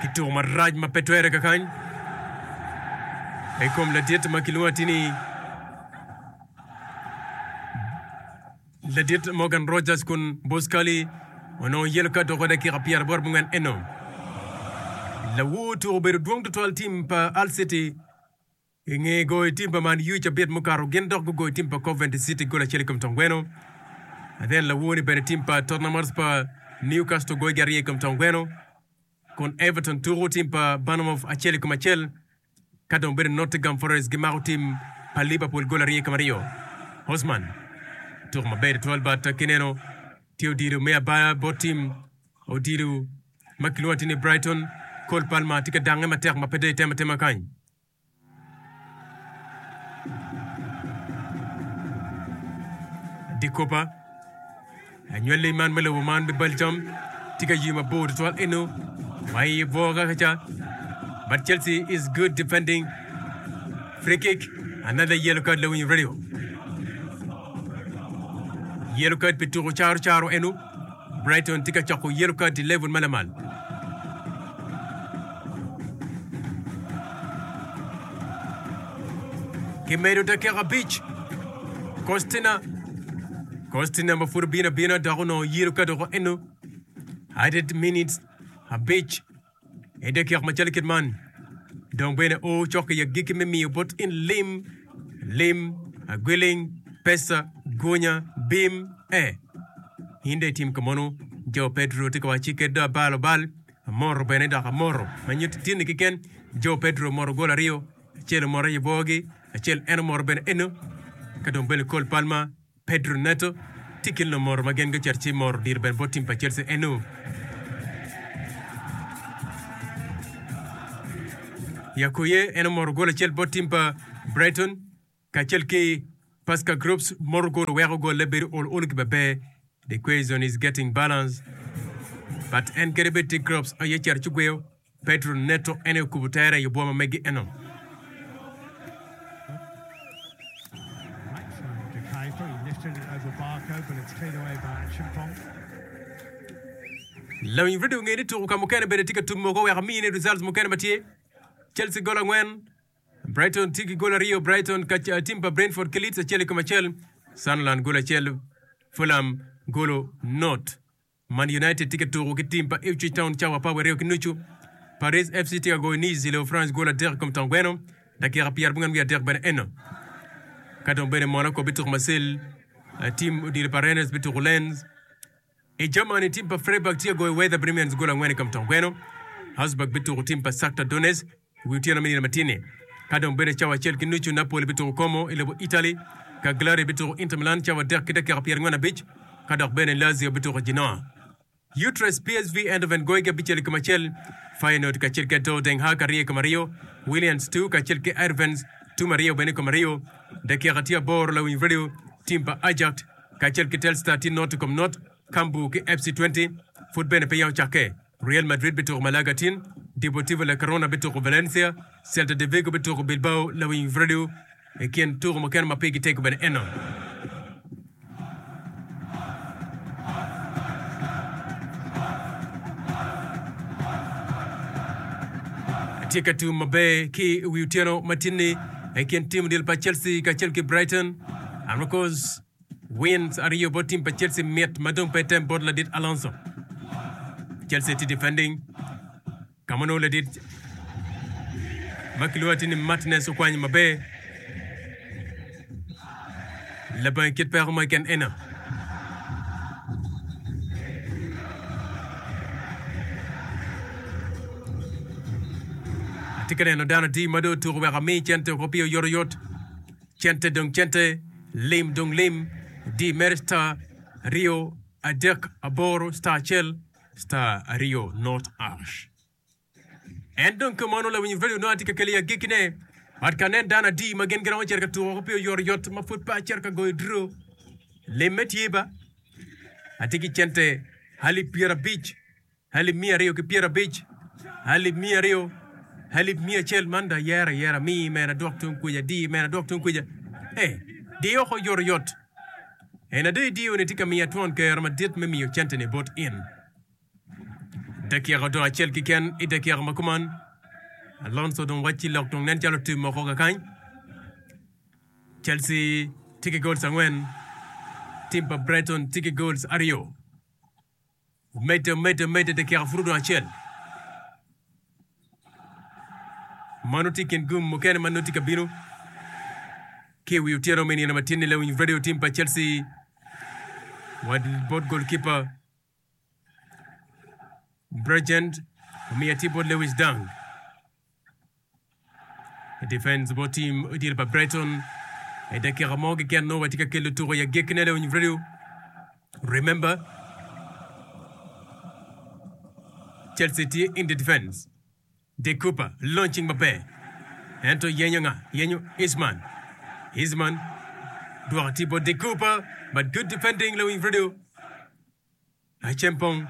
Ki tuko marac ma pe twere kakany i kom ladit ma kilwongo atir ni Ladit Morgan Rogers kun Boscali onongo yelo ka doko dakika pyeraboro abongwen eno. Lawor tuko obedo dwong tutwal tim pa Hull City i nge goyo tim pa Man U cabit mukato gin dok gugoyo tim pa Coventry City gol acel i kom tong gweno. Then lawor ni bene tim pa Tottenham Hotspur Newcastle goyogi aryo i kom tong gweno kun Everton tuko tim pa Bournemouth acel i kom acel. Ka dong bedo Nottingham Forest gimako tim pa Liverpool gol aryo i kom aryo. Hosman tuko maber tutwal but kineno tye odilo me abaya bot tim odilo ma kilwongo atir ni Brighton. Cole Palmer tye ka dange matek ma pe dong itemo atema kany. Dikopa Anywali man me lobo man me Belgium tye ka ywe mabor tutwal eno ma i bwoga kaca but Chelsea is good defending free kick another yellow card lawiny radio yellow card pi tuko caro caro eno Brighton tye ka coko yellow card i level ma lamal. Kimedo dakika abic. Kostina Kostina ma pud obino abina dok onongo yiro ka doko eno. Added minutes abic i dakika macalo kit man. Dong bene o cok i agikki me miyo bot in lim, lim, agwiling, pesa, gunya, bim, e. In dong itim kamono. Jo Pedro tye ka wacci kit dong abalo bal. Amoro bene dok amoro ma nyuto tinni keken. Jo Pedro omoro gol aryo, acel omoro i bwogi, acel en omoro bene eno. Ka dong bene Cole Palmer, Pedro Neto tye i kin lumoro ma gin gucito ci moro odiro bene bot tim pa Chelsea eno. Yakuye en omoro gol acel bot tim pa Brighton kacel ki Pascal Gross moro gol oweko golle bedo olo olo ki maber. The equation is getting balanced but en kadi bed tye Gross aye cito ci gweyo Pedro Neto en aye okubo tere i obwo ma megi eno. Right from De Kuyper, he lifted it over Barco, but it's cleared away by Acheampong. Lawiny redio nge ni tuko ka mukene bene tye ka tum moko wek amine results mukene ma tye. Chelsea gol angwen, Brighton tye ki gol aryo, Brighton ka tim pa Brentford ki Leeds acel i kom acel, Sunderland gol acel, Fulham golo not. Man United tye ka tuko ki tim pa Ipswich Town cawa apar wiye aryo ki nucu. Paris FC tye ka goyo Nice i lobo France gol adek i kom tong gweno dakika pyerabongwen wiye adek bene eno. Ka dong bene Monaco bituko Marseille, tim odilo pa Rennes bituko Lens. I Germany, tim pa Freiburg tye ka goyo Werder Bremen gol angwen i kom tong gweno. Augsburg bituko tim pa Shakhtar Donetsk i wi otyeno me nino matin-ni. Ka dong bedo cawa acel ki nucu, Napoli bituko Como i lobo Italy, Cagliari bituko Inter Milan cawa adek ki dakika pyerangwen abic, ka dok bene Lazio bituko Genoa. Utrecht, PSV Eindhoven goyogi abicel i kom acel, Feyenoord kacel ki Ado Den Haag aryo i kom aryo, Williams two kacel ki Heerenveen tum aryo bene i kom aryo. Dakika tye aboro lawiny radio, tim pa Ajax kacel ki Telstar tye not i kom not, Cambuur ki FC Twente pud bene peya ocakke. Real Madrid bituko Malaga tin, Deportivo La Corona bituko Valencia, Celta de Vigo bituko Bilbao lawiny radio i kin tuko mukene ma pigi tego bene eno. Atye ka tum maber ki i wi otyeno ma tin-ni i kin tim odilo pa Chelsea kacel ki Brighton and of course wins aryo bot tim pa Chelsea mit ma dong pe tem bot ladit Alonso. Chelsea tye defending ka ma nongo ladit ma kilwongo atir ni Martinez okwanyo maber labongo kit peko mo keken eno. Atye ka neno dano adi ma dong otuko wek ami cente oko pi oyotoyot. Cente dong cente, lim dong lim, di mere star aryo adek aboro star acel star aryo not ash. En dong kumeno lawiny radio nongo atye ka kelo i agikkine. But ka nen dano adi ma gin giromo cito ka tuko woko pi oyotoyot ma pud pe acito ka goyo draw. Limme tye ba. Atye ki cente alip pyerabic. Alip miya aryo ki pyerabic, alip miya aryo, alip miya acel, man dong ayero ayera, mi mene adwok tung kuca, di mene adwok tung kuca. Ee, di oko oyotoyot. En ada idiyo-ni tye ka miya twon kero madit me miyo cente-ni bot in. Dakika odong acel keken i dakika ma kuman. Alonso dong wacci lok dong nen calo otum oko kakany. Chelsea tye ki goals angwen, tim pa Brighton tye ki goals aryo. Omedde, omedde, omedde dakika pud odong acel. Mano tye i kin gum mukene ma nongo tye ka bino ki i wi otyeno me nino matin-ni lawiny radio tim pa Chelsea wa bot goalkeeper Bregend omiyo atir bot Lewis Dunk. Defense bot team odilo pa Brighton i dakika mo keken nongo watye ka kelo tuko i agekkine lewiny radio. Remember Chelsea tye in the defense. De Cooper launching maber ento yenyo nga? Yenyo Eastman. Eastman dwoko tye bot De Cooper but good defending lewiny radio. Acempong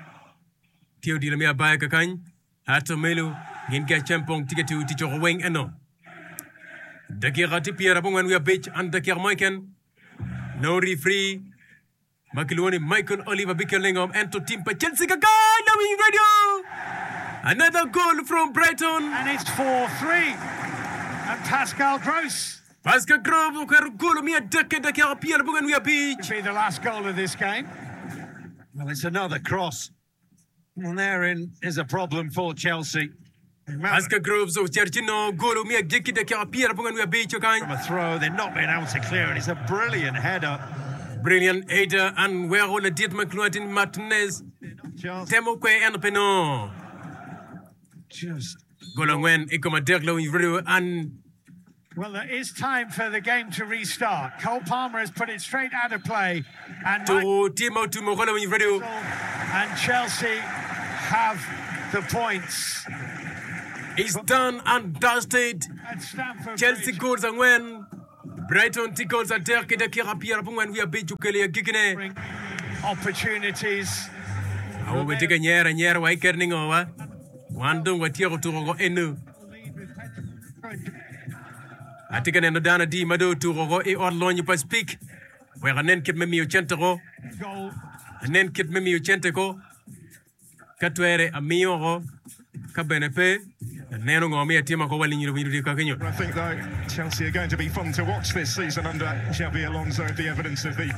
tye odilo me abaya kakany, Arthur Melo gin ki Acempong tye ka tiyo tic oko weng eno. Dakika tye 95 and dakika mo keken nongo referee ma kilwongo ni Michael Oliver bikelo ne ngom ento team pa Chelsea kakany lawiny radio another goal from Brighton. And it's 4-3 and Pascal Gross. Pascal Gross oketo golo me adekke dakika 85. Be the last goal of this game. Well, it's another cross. And therein is a problem for Chelsea. Pascal Gross ocito ci nongo golo me agikki dakika 85 kany. From a throw, they're not being able to clear it. It's a brilliant header. Brilliant header and weko ladit ma kilwongo ni Martinez temo kwe ento pe nongo. Just Golo angwen i kom adek lawiny radio and Well, there is time for the game to restart. Cole Palmer has put it straight out of play. And Tuko tye ma otum woko lawiny radio. And Chelsea have the points. It's done and dusted. At Stamford Chelsea Bridge. goals angwen, Brighton tye goals adek ki dakika 95 okelo i agikkine. Opportunities. Awobe tye ka nyero anyera wa i ker ni ngo wa? Wan dong watyeko tuko ko enu. Atye ka neno dano adi ma dong otuko oko i ot lonyo pa Speke wek anen kit me miyo cente ko. Anen kit me miyo cente ko. Ka twere amiyo oko, ka bene pe, aneno ngo me atima ko wa linyiro winyo dye kakenyo. I think though Chelsea are going to be fun to watch this season under Xabi Alonso the evidence of the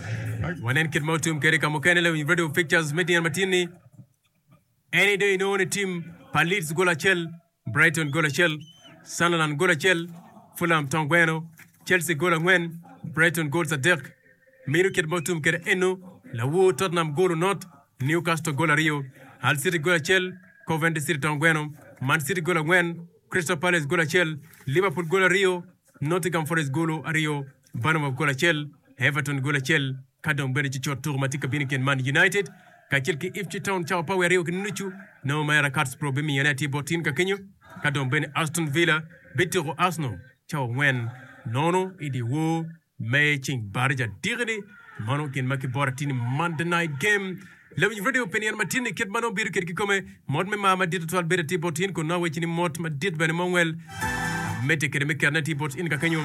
Wanen kit ma otum kwede ka mukene lawiny radio pictures me tyen matin-ni. En aye dong inongo ni tim pa Leeds gol acel, Brighton gol acel, Sunderland gol acel, Fulham tong gweno, Chelsea gol angwen, Brighton goals adek. Meno kit ma otum kwede eno, lawor Tottenham gol onot, Newcastle gol aryo, Hull City gol acel, Coventry City tong gweno, Man City gol angwen, Crystal Palace gol acel, Liverpool gol aryo, Nottingham Forest golo aryo, Bournemouth gol acel, Everton gol acel, ka dong bene cucut tuko ma tye ka bino i kin Man United kacel ki Ipswich Town cawa pa wiye aryo ki nucu nongo mere Katspro bimiyone atir bot tin ka kenyo, ka dong bene Aston Villa bituko Arsenal cawa angwen nono i dyewor me ceng baraja diki-ni. Mano gin ma kiboro atir ni Monday Night Game. Lawiny radio pi nino matin-ni kit ma nongo bedo kwede kikome, mot me mar madit tutwal bedo atir bot in kun nongo awecci ni mot madit bene ma ongwel amedde kwede me ketone atir bot in kakenyo.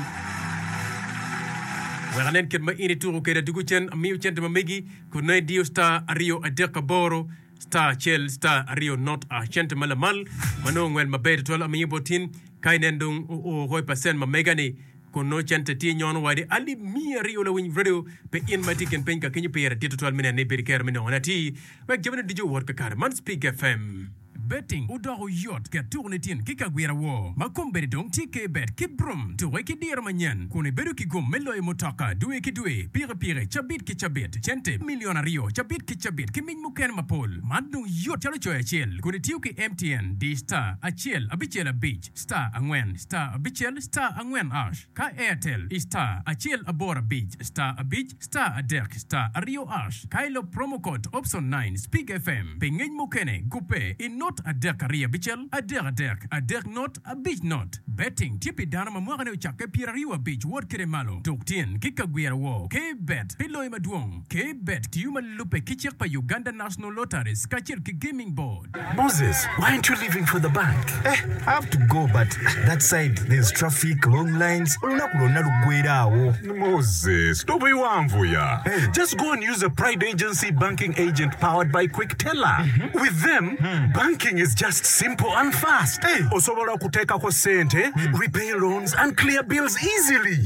Wek anen kit ma in ituko kwede adwogo cen amiyo cente ma megi kun nongo idiyo star aryo adek aboro star acel star aryo not a cente ma lamal ma nongo ongwel maber tutwal amiyo bot in ka inen dong oo oko i pacent ma mega ni kun nongo cente tye nyono wadi alip 200 lawiny radio pe in ma itye i kin piny ka kenyo pire dit tutwal me neno ni ibedo ki kero me nongone atir wek jamine ducu owot kakare. Man Spig FM. Betting odoko yot ket tuko ni tin ki kagwira woo ma kombeddi dong tye K-bet ki Brum tuke ki diro manyen kun ibedo ki gum me loyo mutoka dwe ki dwe, pikipiki cabit ki cabit, cente milion aryo cabit ki cabit ki mic mukene mapol. Man dong yot calo coyo acel kun itiyo ki MTN di star acel abicel abic star angwen star abicel star angwen ash ka Airtel i star acel aboro abic star abic star adek star aryo ash ka ilub promo code option nine Spig FM pi ngec mukene gubbe i not adek aryo abicel adek adek adek not abic not. Betting tye pi dano ma mwakane ocakke pyeraryo abic wot kwede malo. Tuk tyen ki ka gwiro woo. K-Bet pi loyo madwong. K-Bet tiyo ma lubbe ki cik pa Uganda National Lotteries kacel ki Gaming Board. Moses, why aren't you leaving for the bank? Eh, I have to go but that side there's traffic, long lines, olunaku lwonna luggwera awo. Moses, tobiwanvuya. Hey. Just go and use a Pride Agency banking agent powered by Quickteller. With them, banking is just simple and fast. Hey. Osobola okuteekako ssente, repay loans and clear bills easily.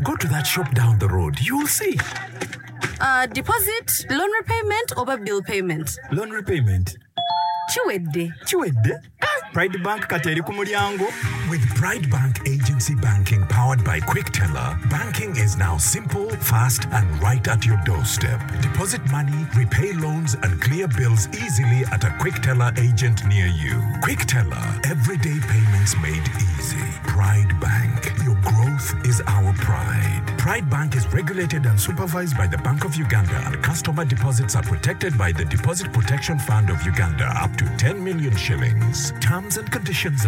Go to that shop down the road, you'll see. Uh, deposit, loan repayment oba bill payment? Loan repayment. Kiwedde. Kiwedde? Pride Bank kati eri ku mulyango. With Pride Bank Agency Banking powered by Quickteller, banking is now simple, fast, and right at your doorstep. Deposit money, repay loans, and clear bills easily at a Quickteller agent near you. Quickteller, everyday payments made easy. Pride Bank, your growth is our pride. Pride Bank is regulated and supervised by the Bank of Uganda, and customer deposits are protected by the Deposit Protection Fund of Uganda up to 10 million shillings. Terms and conditions.